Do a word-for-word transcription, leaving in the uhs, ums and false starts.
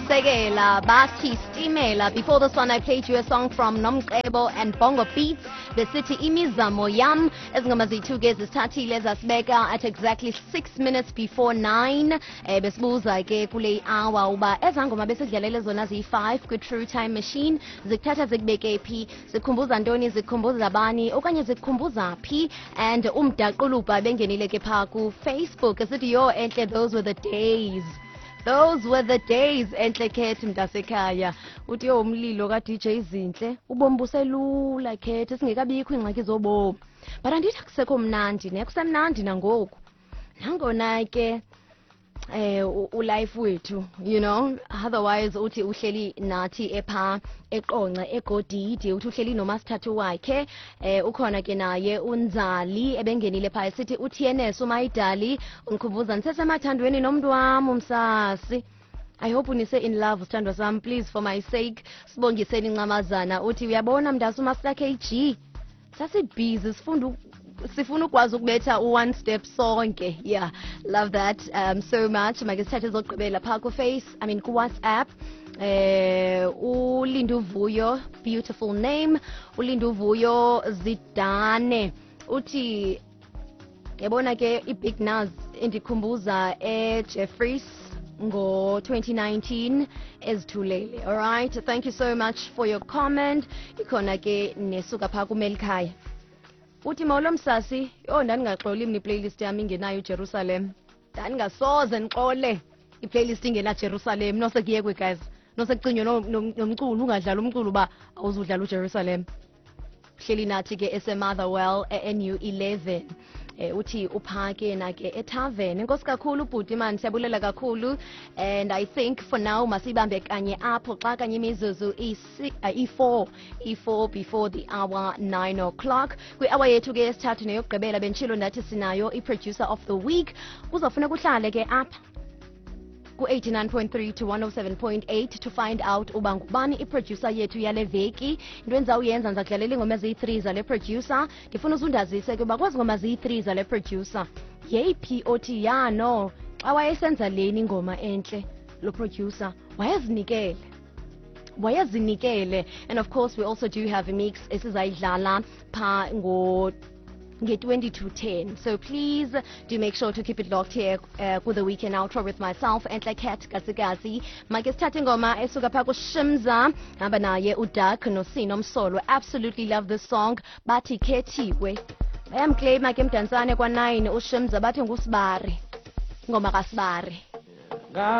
Sekela bathi Stimela. Before this one I played you a song from Nomcebo and Bongo Beats, besithi Imizamo Yam. Ezingoma zethu ke zisithathile zasibeka at exactly six minutes before nine. Eh besibuza ke kule hour uba ezangoma besidlalele zona ziyi-five kwi-True Time Machine zikuthatha zikubeke phi, zikhumbuza ntoni, zikhumbuza bani okanye zikukhumbuza phi. And umdaquluba bengenile ke phaa ku-Facebook esithi, "Yo Enhle, those were the days. Those were the days." Enhle Khethi mntasekhaya uthi, "Yo, umlilo ka-D J Zinhle, ubomi buselula Khethi, singekabikho iingxaki zobomi." But andithi akusekho mnandi ne, kusemnandi nangoku, nangona ke eh ulife wethu you know Otherwise uthi uhleli nathi epha eQonce eGodidi, uthi uhleli nomasithathu wakhe. eh ukhona ke naye unzali ebengenile pha esithi u T N S umayidali ungikhumbuza nisesemathandweni nomntu wami umsasi. I hope unise in love, sithandwa sami, please, for my sake. Sibongiseni Incamazana uthi, "Uyabona mntase, uMaster K G, sasibhizi sifunda sifuna ukwazi ukubetha u-one step sonke." Yeah, love that um, so much. Make sithathe ezokugqibela phaa kuface, I mean ku-WhatsApp. eh uLinduvuyo, beautiful name, uLinduvuyo Zidane uthi, "Yabona ke i-Big Nuz indikhumbuza eJeffreys ngo-twenty nineteen ezithulele." All right, thank you so much for your comment. Ikhona ke nesuka phaa kumelikhaya, uthi, "Molo msasi, yho, ndandingaxoli mna iplaylist yami ingenayo uJerusalem. Ndandingasoze ndixole iplaylist ingena Jerusalem. Nosekuyekwe guys, nosekucinywe nomculo, ungadlali umculo uba awuzudlala uJerusalem." Hleli nathi ke eseMotherwell e-N U eleven. eh uthi uphake na ke etavern. Enkosi kakhulu bhuti man, siyabulela kakhulu. And I think for now masibambe kanye apho xa kanye imizuzu i-four i-four before the hour nine o'clock. Kwi-hour yethu ke yesithathu neyokugqibela, benditshilo ndathi sinayo i-producer of the week. Kuzawfuneka uhlale ke apha ku-eighty-nine point three to one oh seven point eight to find out uba ngubani iproducer yethu yale veki. Into endizawuyenza, ndiza kudlalela iingoma eziyi-three zale producer. Ndifuna uzundazise ke uba kwezi ngoma ziyi-three zale producer, yeyiphi othi ya no, xa wayesenza leni ingoma entle lo producer wayezinikele wayezinikele And of course we also do have a mix esizayidlala phaa ngo nge-twenty to ten. So please do make sure to keep it locked here uh, ku-The Weekend Outro with myself, Enhle Cat Kasikazi. Make sithathe ingoma esuka phaa kuShimza, hamba naye uDark noSino Msolo. Absolutely love this song. Bathi Khethiwe. Bayamclaima ke Mdantsane kwa-nine uShimza, bathi ngusibari, ingoma kasibari.